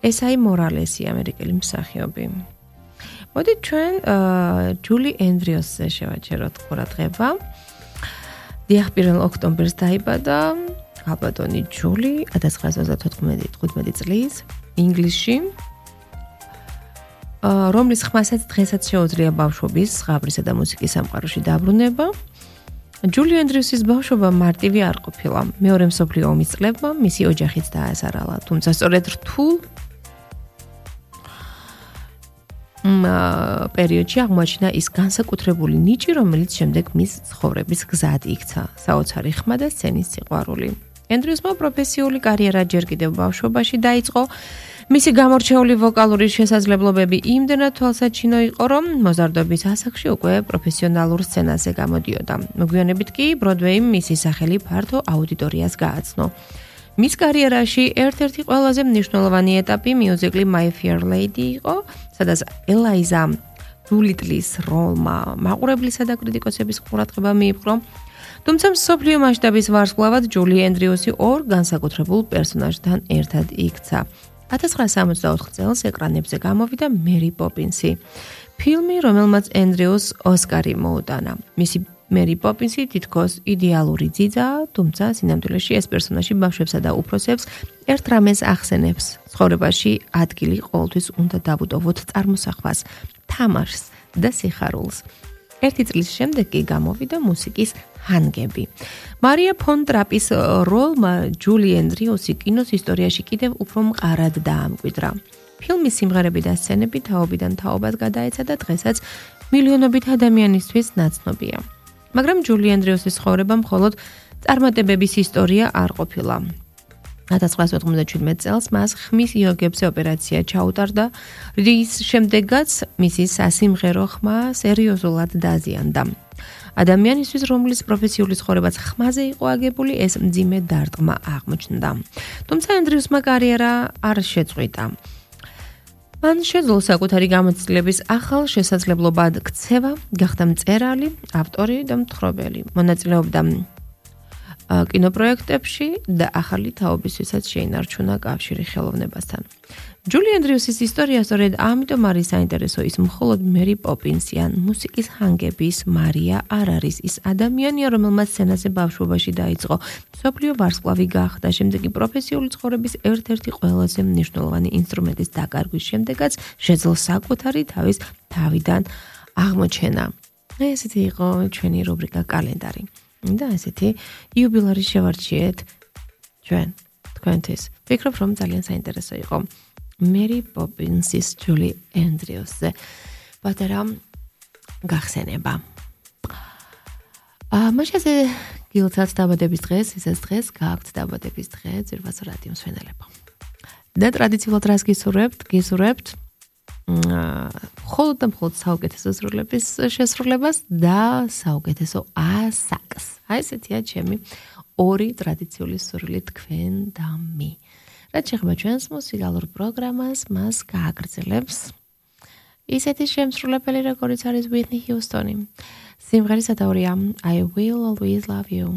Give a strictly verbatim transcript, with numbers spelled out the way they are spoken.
ესაი მორალესი ამერიკელი მსახიობი. მოდით ჩვენ ჯული ენდრიუსზე შევაჩეროთ ყურადღება. დიახ, პირველ ოქტომბერს დაიბადა ალბათონი ჯული ათას ცხრაასი ოცდათხუთმეტი წლის ინგლისში. რომლის ხმასაც დღესაც შეუძლია ბავშვობის, ზღაპრისა და მუსიკის სამყაროში დაბრუნება. ჯული ენდრიუსის ბავშვობა მარტივი არ ყოფილა. მეორე მსოფლიო ომის წლებმა მისი ოჯახიც დაასარალა, თუმცა სწორედ რთულ პერიოდში აღმოაჩინა ის განსაკუთრებული ნიჭი, რომელიც შემდეგ მის ცხოვრების გზად იქცა, საოცარი ხმა და სცენის სიყვარული. ენდრიუსმა პროფესიული კარიერა ჯერ კიდევ ბავშვობაში დაიწყო. მისი გამორჩეული ვოკალური შესაძლებლობები იმდენად თვალსაჩინო იყო, რომ მოზარდობის ასაკში უკვე პროფესიონალურ სცენაზე გამოდიოდა. მოგვიანებით კი ბროდვეიმ მისი სახელი ფართო აუდიტორიას გააცნო. მის კარიერაში ერთ-ერთი ყველაზე მნიშვნელოვანი ეტაპი მიუზიკლი My Fair Lady იყო, სადაც ელაიზა დულიტლის როლმა მაყურებლისა და კრიტიკოსების ყურადღება მიიპყრო. თუმცა მსოფლიო მასშტაბის ვარსკვლავად ჯული ენდრიუსი ორ განსაკუთრებულ პერსონაჟთან ერთად იქცა. ათას ცხრაასი სამოცდაოთხ წელს ეკრანებზე გამოვიდა მერი პოპინსი, ფილმი, რომელმაც ენდრიუსს ოსკარი მოუტანა. მისი მერი პოპინსი თითქოს იდეალური ძიძაა, თუმცა სინამდვილეში ეს პერსონაჟი ბავშვებსა და უფროსებს ერთ რამეს ახსენებს. ცხოვრებაში ადგილი ყოველთვის უნდა დავუტოვოთ წარმოსახვას, თამაშს და სიხარულს. ერთი წლის შემდეგ კი გამოვიდა მუსიკის ჰანგები. მარია ფონ ტრაპის როლმა ჯული ენდრიუსი კინოს ისტორიაში კიდევ უფრო მყარად დაამკვიდრა. ფილმის სიმღერები და სცენები თაობიდან თაობას გადაეცა და დღესაც მილიონობით ადამიანისთვის ნაცნობია. მაგრამ ჯული ენდრიუსის ცხოვრება მხოლოდ წარმატებების ისტორია არ ყოფილა. ათას ცხრაასი ოთხმოცდაშვიდმეტ წელს მას ხმის იოგებზე ოპერაცია ჩაუტარდა, რის შემდეგაც მისი სასიმღერო ხმა სერიოზულად დაზიანდა. ადამიანისთვის, რომლის პროფესიული ცხოვრებაც ხმაზე იყო აგებული, ეს მძიმე დარტყმა აღმოჩნდა. თუმცა ენდრიუსმა კარიერა არ შეწყვიტა. მან შეძლო საკუთარი გამოცდილების ახალ შესაძლებლობად ქცევა, გახდა მწერალი, ავტორი და მთხრობელი. მონაწილეობდა კინოპროექტებში და ახალი თაობისთვისაც შეინარჩუნა კავშირი ხელოვნებასთან. ჯული ენდრიუსის ისტორია სწორედ ამიტომ არის საინტერესო, ის მხოლოდ მერი პოპინსი ან მუსიკის ჰანგების მარია არ არის ის ადამიანია, რომელმაც სცენაზე ბავშვობაში დაიწყო, მსოფლიო ვარსკვლავი გახდა, შემდეგ კი პროფესიული ცხოვრების ერთ-ერთი ყველაზე მნიშვნელოვანი ინსტრუმენტის დაკარგვის შემდეგაც შეძლო საკუთარი თავის თავიდან აღმოჩენა. ესეთი იყო ჩვენი რუბრიკა კალენდარი. და ესეთი იუბილარი შევარჩიეთ ჩვენ თქვენთვის. ვფიქრობ, რომ ძალიან საინტერესო იყო. მერი პოპინსის ჯული ენდრიუსზე პატარა გახსენება. მაშინზე გილცათ დაბადების დღეს, ისეს დღეს გააქვთ დაბადების დღე ძვირფას რადიო მსმენელებო. და ტრადიციულად რას გისურვებთ? გისურვებთ მხოლოდ და მხოლოდ საუკეთესო სრულების შესრულებას და საუკეთესო ასაკს. აი ესეთია ჩემი ორი ტრადიციული სურვილი თქვენ და მე. რაც შეეხება ჩვენს მუსიკალურ პროგრამას, მას გააგრძელებს ისეთი შემსრულებელი, როგორიც არის Whitney Houston. სიმღერის ავტორია I Will Always Love You.